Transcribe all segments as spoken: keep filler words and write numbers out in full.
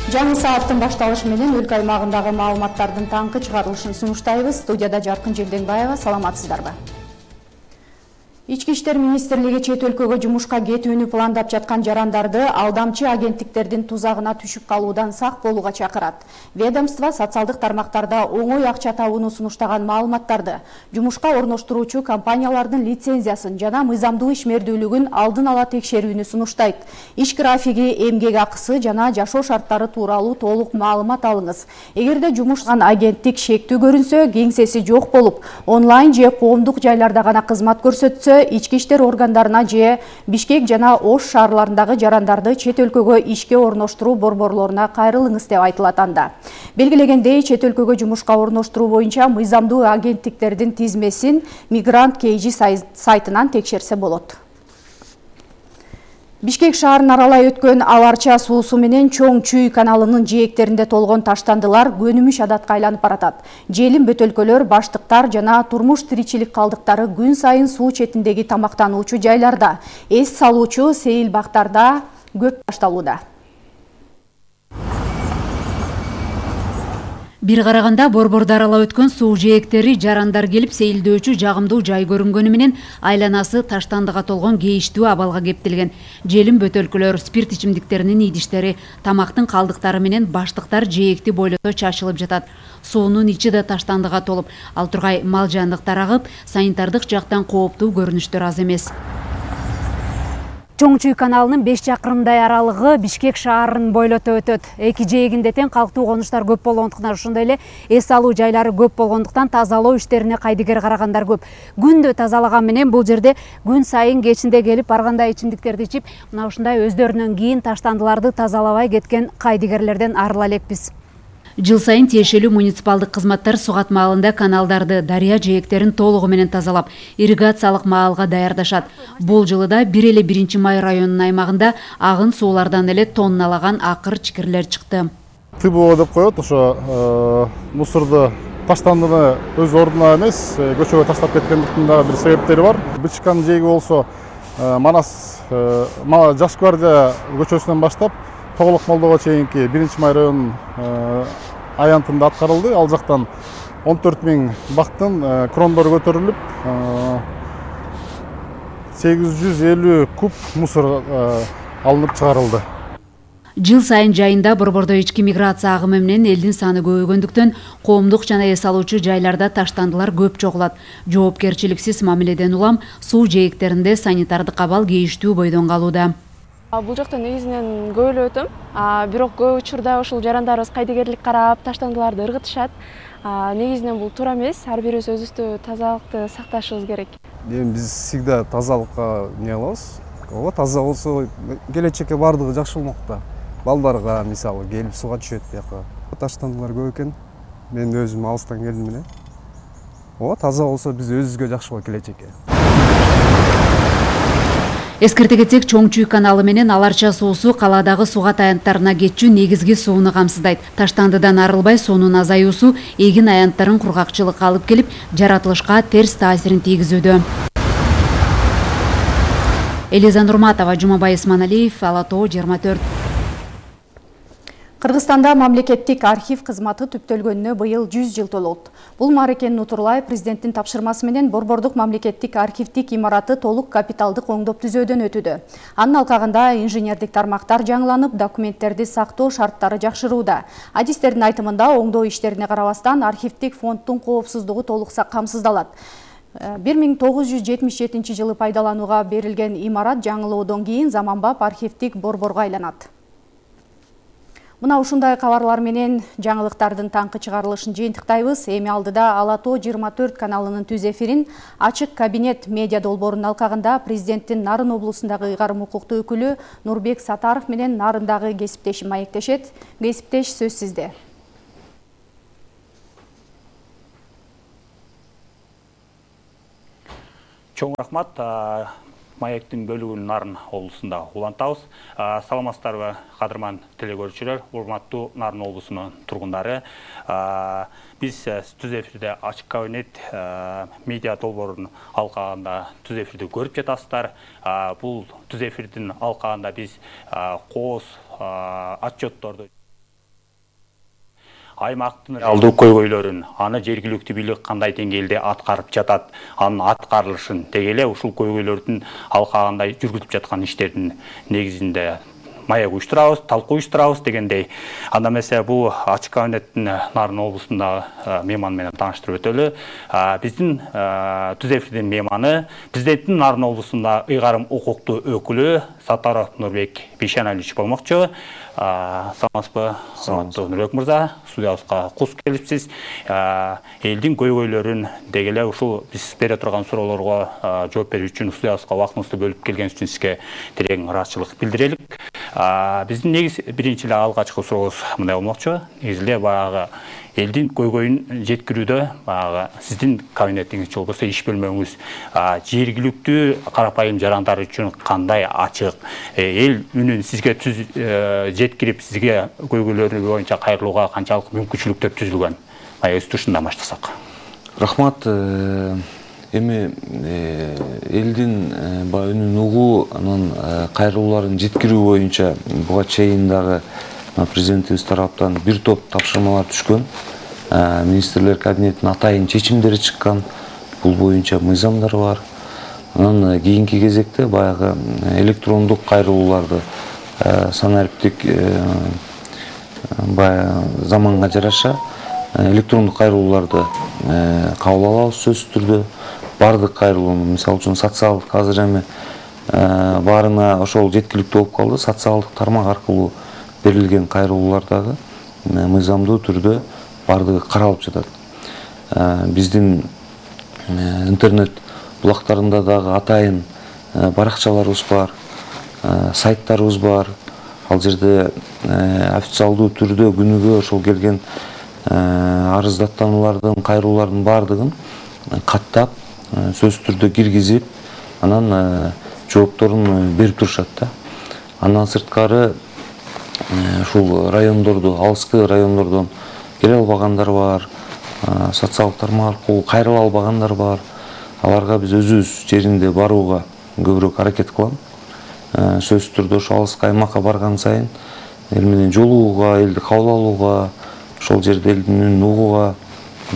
Жаңы сааттын башталышы менен өлкө аймагындагы маалыматтардын таңкы чыгарылышын сунуштайбыз. Студияда Жаркын Желденбаева, саламатсыздарбы? Ички иштер министрлиги чет өлкөгө жумушка кетүүнү пландап жаткан жарандарды алдамчы агенттиктердин тузагына түшүп калуудан сак болууга чакырат. Ведомство социалдык тармактарда оңой акча табууну сунуштаган маалыматтарды, жумушка орноштуруучу компаниялардын лицензиясын жана мыйзамдуу ишмердүүлүгүн алдын ала текшерүүнү сунуштайт. Иш графиги, эмгек акысы жана жашоо шарттары тууралуу толук маалымат алыңыз. Эгерде жумушкан агенттик шектүү көрүнсө, кеңсеси жок болуп, онлайн же коомдук жайларда гана кызмат көрсөтсө, ички иштер органдарына же Бишкек жана Ош шаарларындагы жарандарды чет өлкөгө ишке орноштуруу борборлоруна кайрылыңыз деп айтылат анда. Белгилегендей, чет өлкөгө жумушка орноштуруу боюнча мыйзамдуу агенттиктердин тизмесин Мигрант Кейжи сайтынан текшерсе болот. Бишкек шаарын аралай өткөн Аларча суусу менен Чоң Чүй каналынын жээктеринде толгон таштандылар көнүмүш адатка айланып баратат. Желим бөтөлкөлөр, баштыктар жана турмуш тиричилик калдыктары күн сайын суу четиндеги тамактануучу жайларда, эс салуучу сейил бактарда көп ташталууда. Бир караганда борборду аралап өткөн суу жээктери жарандар келип сейилдөөчү жагымдуу жай көрүнгөнү менен айланасы таштандыга толгон кейиштүү абалга кептелген. Желим бөтөлкөлөр, спирт ичимдиктеринин идиштери, тамактын калдыктары менен баштыктар жээкти бойлото чачылып жатат. Суунун ичи да таштандыга толуп, ал тургай мал жандыктар агып, санитардык жактан кооптуу көрүнүштөр аз эмес. Чоң Чүй каналынын беш чакырымдай аралыгы Бишкек шаарын бойлото өтөт. Эки жээгинде тең калктуу конуштар көп болгондуктан, ошондой эле эс алуу жайлары көп болгондуктан тазалоо иштерине кайдыгер карагандар көп. Күндө тазалаган менен бул жерде күн сайын кечинде келип барганда ичимдиктерди ичип, мына ушундай өздөрүнөн кийин таштандыларды тазалабай кеткен кайдыгерлерден арыла элекпиз. Жыл сайын тиешелүү муниципалдык кызматтар сугат маалында каналдарды, дарыя жээктерин толугу менен тазалап, ирригациялык маалга даярдашат. Бул жылы да бир эле биринчи май районунун аймагында агын суулардан эле тонналаган акыр чикирлер чыкты. ТБО деп коет, ошо мусорду таштандыны өз ордуна эмес, көчөгө таштап кеткендиктин да бир себептери бар. Бычкан жээги болсо Манас Жаш гвардия көчөсүнөн баштап Тоголок Молдого чейинки биринчи май районунун аянтында аткарылды. Ал жактан он төрт миң бактын крондору көтөрүлүп, сегиз жүз элүү куб мусор алынып чыгарылды. Жыл сайын жайында борбордо ички миграция агымы менен элдин саны көбөйгөндүктөн коомдук жана эс алуучу жайларда таштандылар көп чогулат. Жоопкерчиликсиз мамиледен улам суу жээктеринде санитардык абал кейиштүү бойдон калууда. Бул жакта негизинен көп эле өтөм. Бирок көп учурда ушул жарандарыбыз кайдыгерлик карап, таштандыларды ыргытышат. Негизинен бул туура эмес. Ар бирибиз өзүбүздү тазалыкты сакташыбыз керек. Эми биз всегда тазалыкка не кылабыз. Ооба, таза болсо келечекке бардыгы жакшы болмок да. Балдарга мисалы келип сууга түшөт бияка. Таштандылар көп экен. Мен өзүм алыстан келдим эле. Ооба, таза болсо биз өзүбүзгө жакшы болот келечекке. Эскерте кетсек, Чоң Чүй каналы менен Аларча суусу калаадагы суугат аянттарына кетчү негизги сууну камсыздайт. Таштандыдан арылбай суунун азаюусу эгин аянттарын кургакчылыкка алып келип, жаратылышка терс таасирин тийгизүүдө. Элиза Нурматова, Жумабай Исманалиев, Ала Тоо жыйырма төрт. Кыргызстанда мамлекеттик архив кызматы түптөлгөнүнө быйыл жүз жыл толот. Бул Марекен Нутурлаев президенттин тапшырмасы менен борбордук мамлекеттик архивдик имараты толук капиталдык оңдоп түзөөдөн өтүүдө. Анын алкагында инженердик тармактар жаңыланып, документтерди сактоо шарттары жакшырууда. Адистердин айтымында оңдоо иштерине карабастан архивдик фонддун коопсуздугу толук камсыздалат. бир миң тогуз жүз жетимиш жетинчи жылы пайдаланууга берилген имарат жаңылоодон кийин заманбап архивдик борборго айланат. Мына ушундай кабарлар менен жаңылыктардын таңкы чыгарылышын жыйынтыктайбыз. Эми алдыда Ала Тоо жыйырма төрт каналынын түз эфирин Ачык кабинет медиа долбоорунун алкагында президенттин Нарын облусундагы ыйгарым укуктуу өкүлү Нурбек Сатаров менен Нарындагы кесиптеши маектешет. Кесиптеш, сөз сизде. Чоң рахмат. Маектин бөлүгүн Нарын облусунда улантабыз. Саламатсыздарбы, кадырман телекөрүүчүлөр, урматтуу Нарын облусунун тургундары. Биз түз эфирде Ачык кабинет медиа долбоорунун алкагында түз эфирди көрүп жатасыздар. Бул түз эфирдин алкагында биз кооз отчетторду аймактын алдуу көйгөйлөрүн, аны жергиликтүү бийлик кандай деңгээлде аткарып жатат, анын аткарылышын деги эле ушул көйгөйлөрдүн алкагында жүргүзүп жаткан иштердин негизинде маек уюштурабыз, талкуу уюштурабыз дегендей. Анда эмесе бул ачык кабинеттин Нарын облусундагы мейман менен тааныштырып өтөлү. Биздин Түз эфирдин мейманы президенттин Нарын облусунда ыйгарым укуктуу өкүлү Саттаров Нурбек Бейшеналиевич болмокчу. Саламатсызбы, саламаттуу Нурбек мырза, студиябызга куш келипсиз. Элдин көйгөйлөрүн деги эле ушул биз бере турган суроолорго жооп берүү үчүн студиябызга убактыңызды бөлүп келгениңиз үчүн сизге терең ыраазычылык билдирелик. Биздин негиз биринчи эле алгачкы сурообуз мындай болмокчу. Негизи эле баягы элдин көйгөйүн жеткирүүдө баягы сиздин кабинетиңиз же болбосо иш бөлмөңүз жергиликтүү карапайым жарандар үчүн кандай ачык, эл үнүн сизге түз жеткирип, сизге көйгөйлөрү боюнча кайрылууга канчалык мүмкүнчүлүктөр түзүлгөн? Мая өз тушундан баштасак. Рахмат. Эми элдин баягы үнүн угуу, анан кайрылууларын жеткирүү боюнча буга чейин дагы президентибиз тараптан бир топ тапшырмалар түшкөн. Министрлер кабинетинин атайын чечимдери чыккан. Бул боюнча мыйзамдар бар. Анан кийинки кезекте баягы электрондук кайрылууларды санариптик баягы заманга жараша электрондук кайрылууларды кабыл алабыз сөзсүз түрдө. Бардык кайрылууну, мисалы үчүн социалдык азыр эми баарына ошол жеткиликтүү болуп калды. Социалдык тармак аркылуу берилген кайрылуулар дагы мыйзамдуу түрдө бардыгы каралып жатат. Биздин интернет булактарында дагы атайын баракчаларыбыз бар, сайттарыбыз бар. Ал жерде официалдуу түрдө күнүгө ошол келген арыздаттануулардын, кайрылуулардын бардыгын каттап, сөзсүз түрдө киргизип, анан жоопторун берип турушат да. Андан сырткары ушул райондорду, алыскы райондордон келе албагандар бар, социалдык тармак аркылуу кайрыла албагандар бар. Аларга биз өзүбүз жеринде барууга көбүрөөк аракет кылам. Сөзсүз түрдө ошо алыскы аймакка барган сайын эл менен жолугууга, элди кабыл алууга, ошол жерде элдин үнүн угууга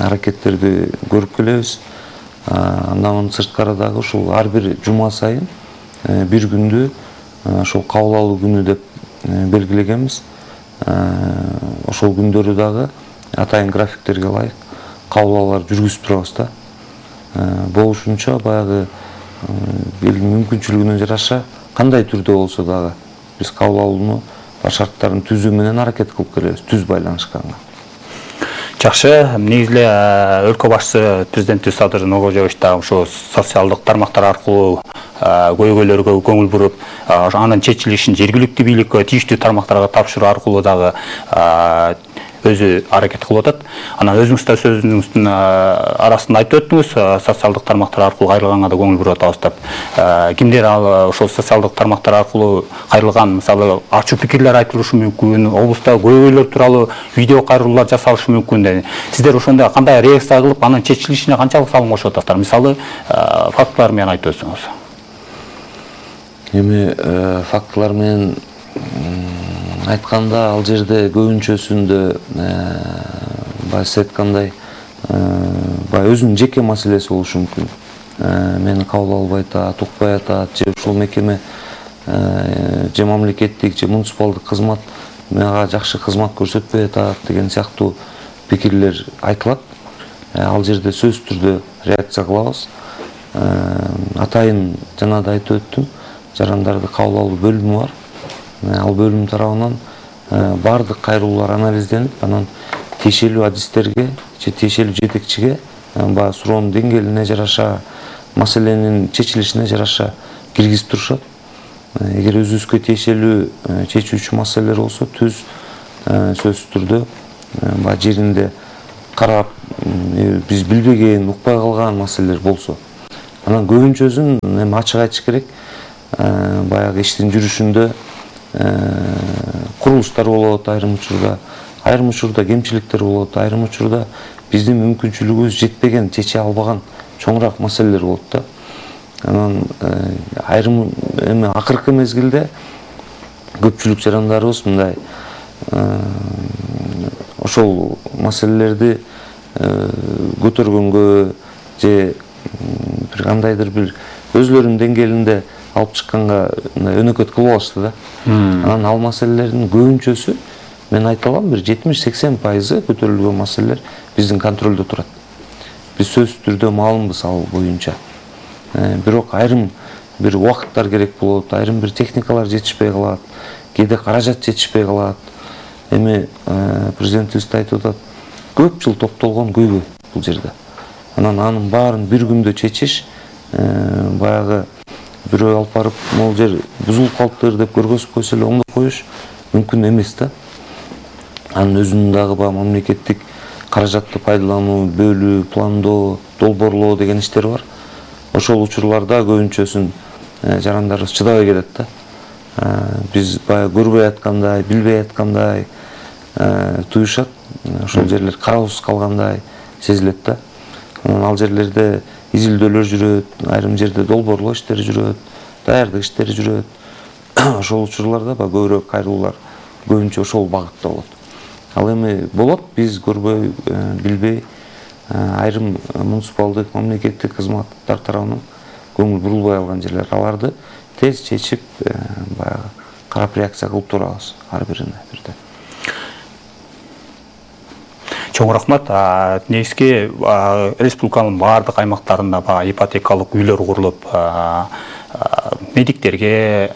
аракеттерди көрүп келебиз. Андан сырткары дагы ушул ар бир жума сайын бир күндү ошол кабыл алуу күнү деп белгилегенбиз. Ошол күндөрү дагы атайын графиктерге ылайык кабыл алуулар жүргүзүп турабыз да. Болушунча баягы элдин мүмкүнчүлүгүнө жараша кандай түрдө болсо дагы биз кабыл алууну шарттарын түзүү менен аракет кылып келебиз, түз байланышканга. Жакшы, негизи эле өлкө башчысы президентибиз Садыр Нуркожоевич да ошо социалдык тармактар аркылуу көйгөйлөргө көңүл буруп, анын чечилишин жергиликтүү бийликке, тийиштүү тармактарга тапшыруу аркылуу дагы өзү аракет кылып атат. Анан өзүңүз да сөзүңүздүн арасында айтып өттүңүз, социалдык тармактар аркылуу кайрылганга да көңүл буруп атабыз деп. Кимдер ал ошол социалдык тармактар аркылуу кайрылган, мисалы, ачуу пикирлер айтылышы мүмкүн, облуста көйгөйлөр тууралуу видео кайрылуулар жасалышы мүмкүн. Сиздер ошондо кандай реакция кылып, анын чечилишине канчалык салым кошуп атасыздар? Мисалы, фактылар менен айтып өтсөңүз. Эми фактылар менен айтканда, ал жерде көбүнчөсүндө баягы сиз айткандай баягы өзүнүн жеке маселеси болушу мүмкүн. Мени кабыл албай атат, укпай атат, же ушул мекеме же мамлекеттик, же муниципалдык кызмат мага жакшы кызмат көрсөтпөй атат деген сыяктуу пикирлер айтылат. Ал жерде сөзсүз түрдө реакция кылабыз. Атайын жана да айтып өттүм, жарандарды кабыл алуу бөлүмү бар. Ал бөлүм тарабынан бардык кайрылуулар анализденип, анан тиешелүү адистерге же тиешелүү жетекчиге баягы суроонун деңгээлине жараша, маселенин чечилишине жараша киргизип турушат. Эгер өзүбүзгө тиешелүү чечүүчү маселелер болсо, түз сөзсүз түрдө баягы жеринде карап, биз билбеген, укпай калган маселелер болсо, анан көбүнчөсүн эми ачык айтыш керек, баягы иштин жүрүшүндө курулуштар болот, айрым учурда, айрым учурда кемчиликтер болот, айрым учурда биздин мүмкүнчүлүгүбүз жетпеген, чече албаган чоңураак маселелер болот да. Анан айрым эми акыркы мезгилде көпчүлүк жарандарыбыз мындай ошол маселелерди көтөргөнгө же бир кандайдыр бир өзлөрүнүн деңгээлинде алып чыкканга өнөкөт кылып алышты да. Анан ал маселелердин көбүнчөсү, мен айта алам, бир жетимиш сексен пайызы көтөрүлгөн маселелер биздин контролдо турат. Биз сөзсүз түрдө маалымбыз ал боюнча. Бирок айрым бир убакыттар керек болот, айрым бир техникалар жетишпей калат, кээде каражат жетишпей калат. Эми президентибиз да айтып атат, көп жыл топтолгон көйгөй бул жерде. Анан анын баарын бир күндө чечиш, баягы бирөө алып барып, могул жер бузулуп калыптыр деп көргөзүп койсо эле оңдоп коюш мүмкүн эмес да. Анын өзүнүн дагы баягы мамлекеттик каражатты пайдалануу, бөлүү, пландоо, долбоорлоо деген иштер бар. Ошол учурларда көбүнчөсүн жарандарыбыз чыдабай келет да. Биз баягы көрбөй аткандай, билбей аткандай туюшат. Ошол жерлер караусуз калгандай сезилет да. Ал жерлерде изилдөөлөр жүрөт, айрым жерде долбоорлоо иштери жүрөт, даярдык иштери жүрөт. Ошол учурларда көбүрөөк кайрылуулар көбүнчө ошол багытта болот. Ал эми болот, биз көрбөй, билбей, айрым муниципалдык, мамлекеттик кызматтар тарабынан көңүл бурулбай алган жерлер. Аларды тез чечип, баягы карап реакция кылып турабыз ар бирине бирден. Чоң рахмат. Негизги республиканын баардык аймактарында ипотекалык үйлөр курулуп, медиктерге,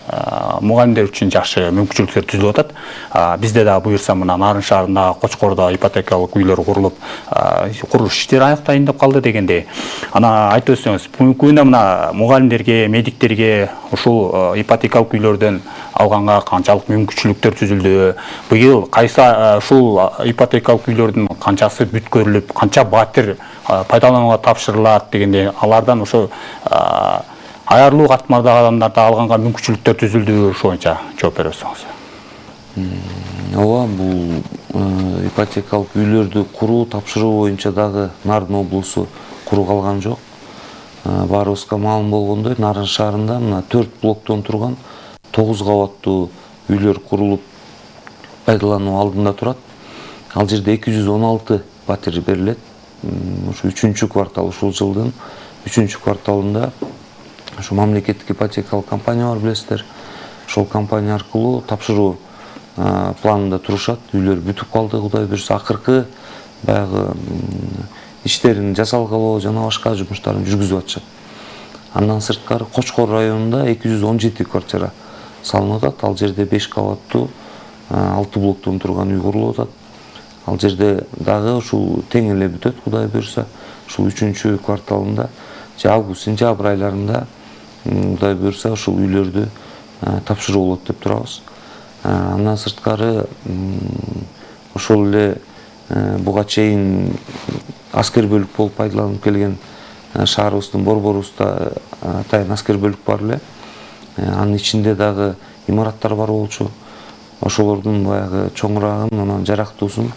мугалимдер үчүн жакшы мүмкүнчүлүктөр түзүлүп атат. Бизде да буюрса мына Нарын шаарында, Кочкордо ипотекалык үйлөр курулуп, курулуш иштери аяктайын деп калды дегендей. Ана айтып өтсөңүз, бүгүнкү күндө мына мугалимдерге, медиктерге ушул ипотекалык үйлөрдөн алганга канчалык мүмкүнчүлүктөр түзүлдү? Быйыл кайсы ушул ипотекалык үйлөрдүн канчасы бүткөрүлүп, канча батир пайдаланууга тапшырылат дегендей, алардан ошо аярлуу катмардагы адамдарда алганга мүмкүнчүлүктөр түзүлдү, ошо боюнча жооп бере берсеңиз. Ооба, бул ипотекалык үйлөрдү куруу, тапшыруу боюнча дагы Нарын облусу куру калган жок. Баарыбызга маалым болгондой, Нарын шаарында мына төрт блоктон турган тогуз кабаттуу үйлөр курулуп пайдалануу алдында турат. Ал жерде эки жүз он алты батир берилет. Ушу үчүнчү квартал, ушул жылдын үчүнчү кварталында ушу мамлекеттик ипотекалык компания бар, билесиздер. Ошол компания аркылуу тапшыруу планында турушат. Үйлөр бүтүп калды, Кудай буйрса, акыркы баягы иштерин жасалгалоо жана башка жумуштарын жүргүзүп атышат. Андан сырткары Кочкор районунда эки жүз он жети квартира салынып атат. Ал жерде беш кабаттуу алты блоктон турган үй курулуп атат. Ал жерде дагы ушул тең эле бүтөт, Кудай буйрса. Ушул үчүнчү кварталында же август, сентябрь айларында Кудай буйрса ушул үйлөрдү тапшыруу болот деп турабыз. Андан сырткары ошол эле буга чейин аскер бөлүк болуп пайдаланып келген шаарыбыздын борборубузда атайын аскер бөлүк бар эле. Анын ичинде дагы имараттар бар болчу. Ошолордун баягы чоңурагын, анан жарактуусун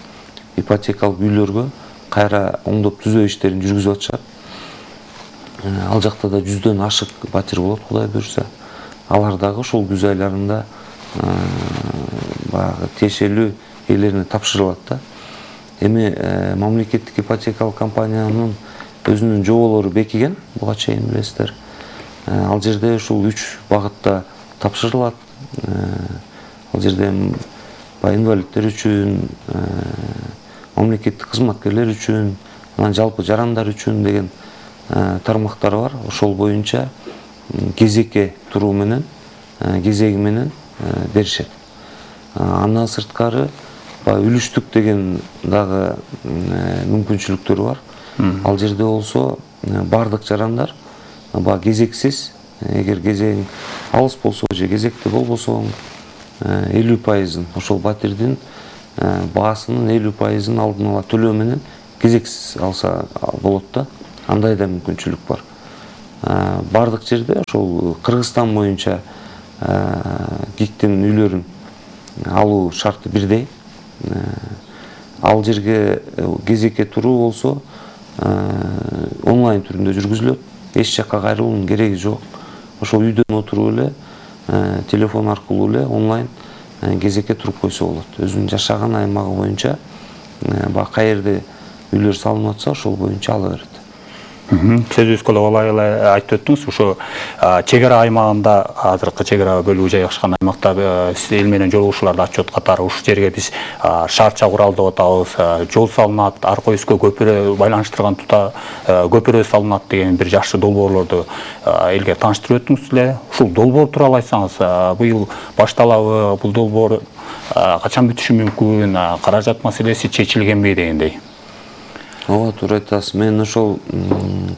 ипотекалык үйлөргө кайра оңдоп түзөө иштерин жүргүзүп атышат. Ал жакта да жүздөн ашык батир болот, Кудай буйрса. Алар дагы ошол күз айларында баягы тиешелүү ээлерине тапшырылат да. Эми мамлекеттик ипотекалык компаниянын өзүнүн жоболору бекиген, буга чейин билесиздер. Ал жерде ушул үч багытта тапшырылат. Ал жерде инвалидтер үчүн, мамлекеттик кызматкерлер үчүн, анан жалпы жарандар үчүн деген тармактары бар. Ошол боюнча кезекке туруу менен, кезеги менен беришет. Андан сырткары үлүштүк деген дагы мүмкүнчүлүктөр бар. Ал жерде болсо бардык жарандар кезексиз, эгер кезең алыс болсо же кезекте болбосо элүү пайызын ошол батирдин баасынын элүү пайызын алдын ала төлөө менен кезексиз алса болот да. Андай да мүмкүнчүлүк бар. Бардык жерде ошол Кыргызстан боюнча ГИКтин үйлөрүн алуу шарты бирдей. Ал жерге кезекке туруу болсо онлайн түрүндө жүргүзүлөт. Эч жакка кайрылуунун кереги жок. Ошол үйдөн отуруп эле телефон аркылуу эле онлайн кезекке туруп койсо болот. Өзүнүн жашаган аймагы боюнча баягы каерде үйлөр салынып атса ошол боюнча ала берет. Сөзүбүзгө улай эле айтып өттүңүз, ошо чек ара аймагында, азыркы чек ара бөлүгү жайгашкан аймакта эл менен жолугушууларды ачып аткатары ушул жерге биз шартча курал деп атабыз, жол салынат, арка өскө көпүрө байланыштырган тута көпүрө салынат деген бир жакшы долбоорлорду элге тааныштырып өттүңүз эле. Ушул долбоор тууралуу айтсаңыз, быйыл башталабы, бул долбоор качан бүтүшү мүмкүн, каражат маселеси чечилгенби дегендей? Ооба, туура айтасыз. Мен ошол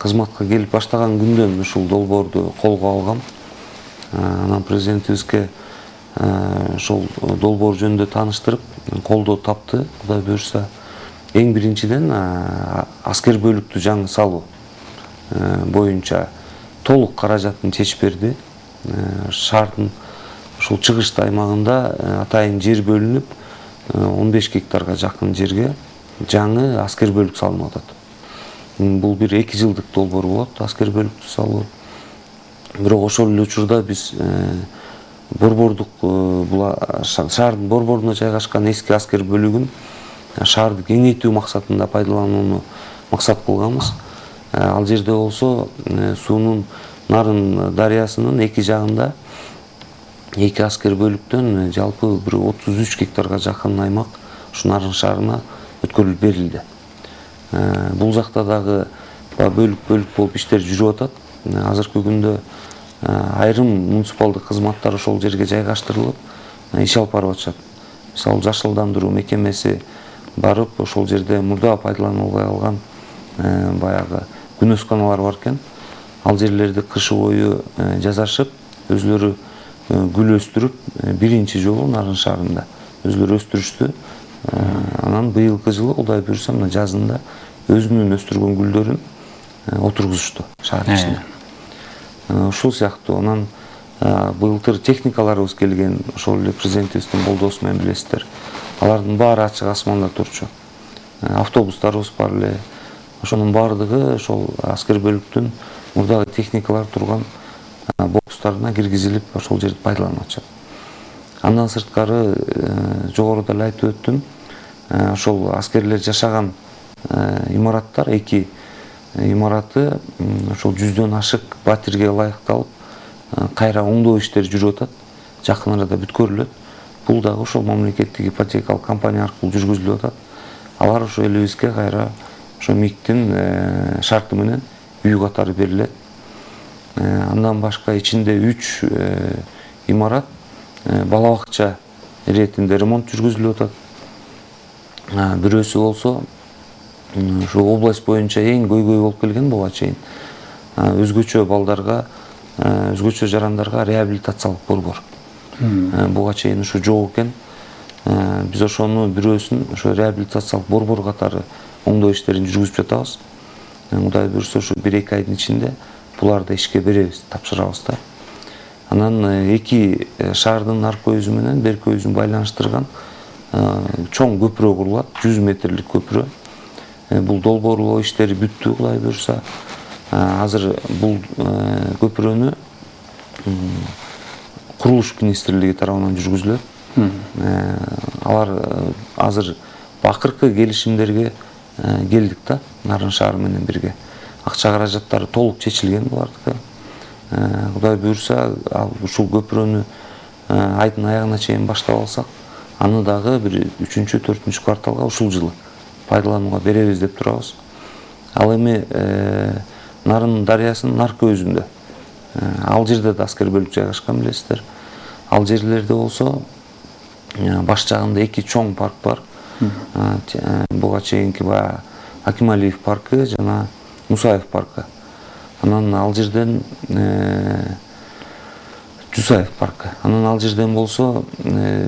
кызматка келип баштаган күндөн ушул долбоорду колго алгам. Анан президентибизге ошол долбоор жөнүндө тааныштырып, колдоо тапты. Кудай буюрса, эң биринчиден аскер бөлүктү жаңы салуу боюнча толук каражатын чечип берди. Шаардын ушул чыгыш аймагында атайын жер бөлүнүп, он беш гектарга жакын жерге жаңы аскер бөлүк салынып атат. Бул бир эки жылдык долбоор болот, аскер бөлүктү салуу. Бирок ошол эле учурда биз борбордук шаардын борборуна жайгашкан эски аскер бөлүгүн шаарды кеңейтүү максатында пайдаланууну максат кылганбыз. Ал жерде болсо суунун Нарын дарыясынын эки жагында эки аскер бөлүктөн жалпы бир отуз үч гектарга жакын аймак ушу Нарын шаарына өткөрүлүп берилди. Бул жакта дагы бөлүк-бөлүк болуп иштер жүрүп атат. Азыркы күндө айрым муниципалдык кызматтар ошол жерге жайгаштырылып, иш алып барып атышат. Мисалы, жашылдандыруу мекемеси барып, ошол жерде мурда пайдаланылбай калган баягы күнөсканалар бар экен. Ал жерлерди кышы бою жасашып, өзлөрү гүл өстүрүп, биринчи жолу Нарын шаарында өзлөрү өстүрүштү. Анан быйылкы жылы Кудай буюрса мына жазында өзүнүн өстүргөн гүлдөрүн отургузушту шаар ичине. Ушул сыяктуу анан быйылтыр техникаларыбыз келген, ошол эле президентибиздин колдоосу менен билесиздер. Алардын баары ачык асманда турчу. Автобустарыбыз бар эле. Ошонун баардыгы ошол аскер бөлүктүн мурдагы техникалар турган бокстарына киргизилип, ошол жерди пайдаланып атышат. Андан сырткары жогоруда эле айтып өттүм, ошол аскерлер жашаган имараттар, эки имараты ошол жүздөн ашык батирге ылайыкталып, кайра оңдоо иштери жүрүп атат, жакын арада бүткөрүлөт. Бул дагы ошол мамлекеттик ипотекалык компания аркылуу жүргүзүлүп атат. Алар ошо элибизге кайра ошо МИКтин шарты менен үй катары берилет. Андан башка ичинде үч имарат бала бакча иретинде ремонт жүргүзүлүп атат. Бирөөсү болсо ушу область боюнча эң көйгөй болуп келген буга чейин өзгөчө балдарга, өзгөчө жарандарга реабилитациялык борбор. Буга чейин ушу жок экен. Биз ошону бирөөсүн ошо реабилитациялык борбор катары оңдоо иштерин жүргүзүп жатабыз. Кудай буюрса ушу бир эки айдын ичинде буларды ишке беребиз, тапшырабыз да. Анан эки шаардын арка өзү менен берки өзүн байланыштырган чоң көпүрө курулат, жүз метрлик көпүрө. Бул долбоорлоо иштери бүттү, Кудай буюрса. Азыр бул көпүрөнү курулуш министрлиги тарабынан жүргүзүлөт. Алар азыр акыркы келишимдерге келдик да, Нарын шаары менен бирге. Акча каражаттары толук чечилген булардыкы. Кудай буюрса, ушул көпүрөнү айдын аягына чейин баштап алсак, аны дагы бир үчүнчү, төртүнчү кварталга ушул жылы пайдаланууга беребиз деп турабыз. Ал эми Нарын дарыясынын арка өзүндө, ал жерде да аскер бөлүк жайгашкан билесиздер. Ал жерлерде болсо баш жагында эки чоң парк бар. Буга чейинки баягы Акималиев паркы жана Мусаев паркы. Анан ал жерден Жусаев паркы. Анан ал жерден болсо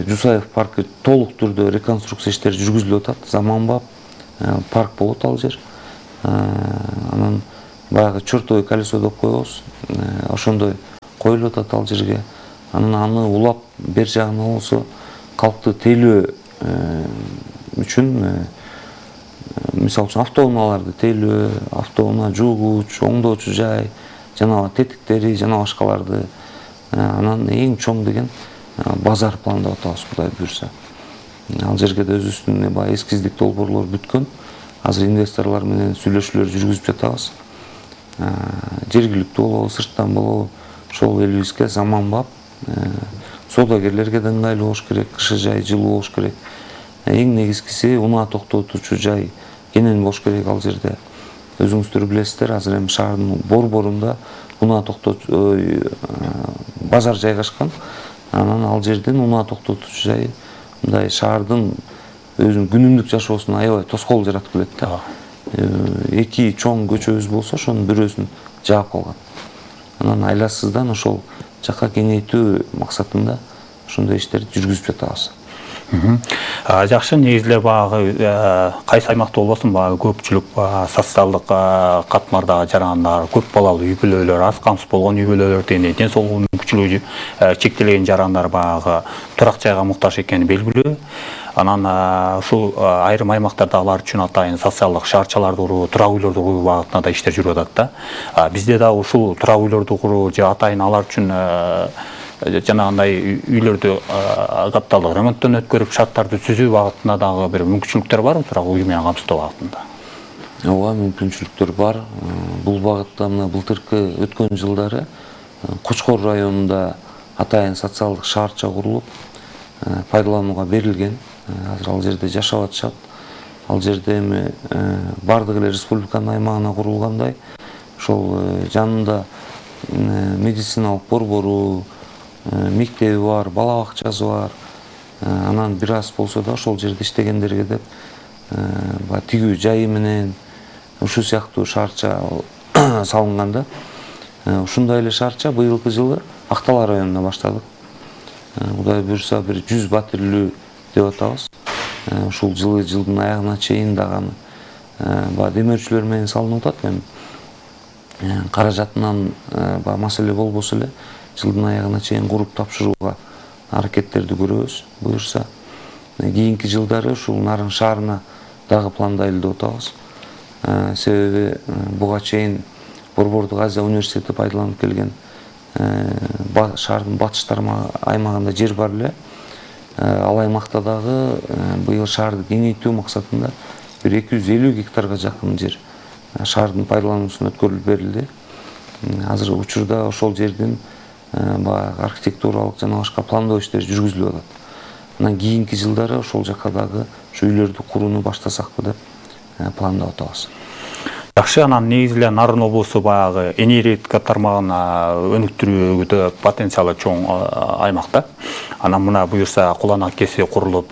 Жусаев паркы толук түрдө реконструкция иштери жүргүзүлүп атат. Заманбап парк болот ал жер. Анан баягы чертовое колесо деп коебуз. Ошондой коюлуп атат ал жерге. Анан аны улап бер жагына болсо калкты тейлөө үчүн, мисалы үчүн автоунааларды тейлөө, автоуна жуугуч, оңдоочу жай, жана тетиктери, жана башкаларды. Анан эң чоң деген базар пландап атабыз, Кудай буюрса. Ал жерге да өзүбүздүн баягы эскиздик долбоорлор бүткөн. Азыр инвесторлор менен сүйлөшүүлөр жүргүзүп жатабыз. Жергиликтүү болобу, сырттан болобу, ошол элибизге заманбап соодагерлерге да ыңгайлуу болуш керек, кышы жай жылуу болуш керек. Эң негизгиси унаа токтотуучу жай кенен болуш керек ал жерде. Өзүңүздөр билесиздер, азыр эми шаардын борборунда унаа токтотуучу базар жайгашкан. Анан ал жерден унаа токтотуучу жай мындай шаардын өзүнүн күнүмдүк жашоосуна аябай тоскоол жаратып келет да. Эки чоң көчөбүз болсо, ошонун бирөөсүн жаап калган. Анан айласыздан ошол жакка кеңейтүү максатында ошондой иштерди жүргүзүп жатабыз. Жакшы, негизинде баягы кайсы аймакта болбосун, баягы көпчүлүк социалдык катмардагы жарандар, көп балалуу үй бүлөлөр, аз камсыз болгон үй бүлөлөр дегендей ден соолугу мүмкүнчүлүгү чектелген жарандар баягы турак жайга муктаж экени белгилүү. Анан ушул айрым аймактарда алар үчүн атайын социалдык шаарчаларды куруу, турак үйлөрдү куруу багытында да иштер жүрүп атат да. Бизде да ушул турак үйлөрдү куруу же атайын алар үчүн жанагындай үйлөрдү капиталдык ремонттон өткөрүп шарттарды түзүү багытында дагы бир мүмкүнчүлүктөр барбы, турак үй менен камсыздоо багытында? Ооба, мүмкүнчүлүктөр бар. Бул багытта мына былтыркы өткөн жылдары Кочкор районунда атайын социалдык шаарча курулуп, пайдаланууга берилген. Азыр ал жерде жашап атышат. Ал жерде эми бардык эле республиканын аймагына курулгандай, ошол жанында медициналык борбору, мектеби бар, бала бакчасы бар. Анан бир аз болсо да ошол жерде иштегендерге деп тигүү жайы менен ушул сыяктуу шаарча салынган да. Ушундай эле шаарча быйылкы жылы Актала районунда баштадык. Кудай буюрса бир жүз батирлүү деп атабыз. Ушул жылы жылдын аягына чейин дагы баягы демөөрчүлөр менен салынып атат. Эми каражатынан баягы маселе болбосо эле жылдын аягына чейин куруп тапшырууга аракеттерди көрөбүз. Буюрса кийинки жылдары ушул Нарын шаарына дагы пландайлы деп атабыз. Себеби буга чейин Борбордук Азия университети пайдаланып келген шаардын батыш аймагында жер бар эле. Ал аймакта дагы быйыл шаарды кеңейтүү максатында бир эки жүз элүү гектарга жакын жер шаардын пайдалануусуна өткөрүлүп берилди. Азыр учурда ошол жердин баягы архитектуралык жана башка пландоо иштери жүргүзүлүп атат. Анан кийинки жылдары ошол жакка дагы ушу үйлөрдү курууну баштасакпы деп пландап атабыз. Жакшы, анан негизи эле Нарын облусу баягы энергетика тармагын өнүктүрүүдө потенциалы чоң аймак да. Анан мына буюрса куланак кеси курулуп,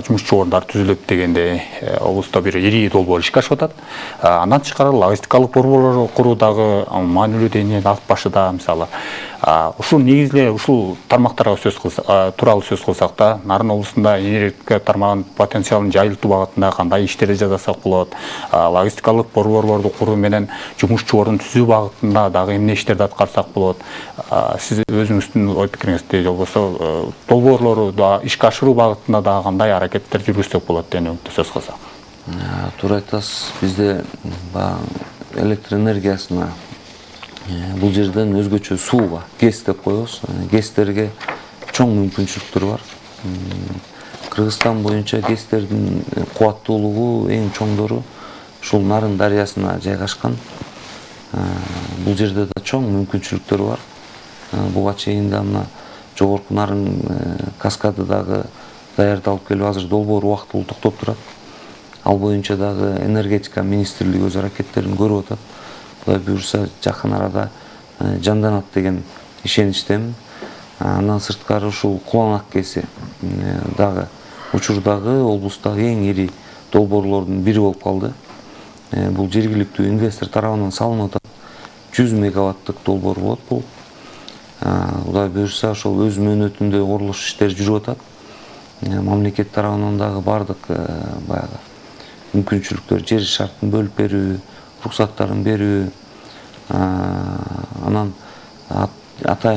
жумушчу орундар түзүлүп дегенде облуста бир ири долбоор ишке ашып атат. Андан тышкары логистикалык борборлор куруу дагы маанилүү деңгээлде алып башыда. Мисалы, ушул негизи эле ушул тармактарга сөз кылсак, тууралуу сөз кылсак да, Нарын облусунда энергетика тармагынын потенциалын жайылтуу багытында кандай иштерди жасасак болот? Логистикалык борборлорду куруу менен жумушчу орун түзүү багытында дагы эмне иштерди аткарсак болот? Сиз өзүңүздүн ой пикириңизди же болбосо долбоорлору да ишке ашыруу багытында дагы кандай аракеттер жүргүзсөк болот деген сөз кылсак? Туура айтасыз. Бизде электр энергиясына бул жерден өзгөчө сууга гез деп коебуз. Гезтерге чоң мүмкүнчүлүктөр бар. Кыргызстан боюнча гезтердин кубаттуулугу эң чоңдору ушул Нарын дарыясына жайгашкан. Бул жерде да чоң мүмкүнчүлүктөр бар. Буга чейин да мына жогорку Нарын каскады дагы даярдалып келип, азыр долбоор убактылуу токтоп турат. Ал боюнча дагы энергетика министрлиги өз аракеттерин көрүп атат. Кудай буюрса жакын арада жанданат деген ишеничтемин. Андан сырткары ушул Куланак кеси дагы учурдагы облустагы эң ири долбоорлордун бири болуп калды. Бул жергиликтүү инвестор тарабынан салынып атат. жүз мегаваттык долбоор болот бул. Кудай буюрса ошол өз мөөнөтүндө курулуш иштери жүрүп атат. Мамлекет тарабынан дагы бардык баягы мүмкүнчүлүктөр, жер шартын бөлүп берүү, уруксаттарын берүү, анан атайын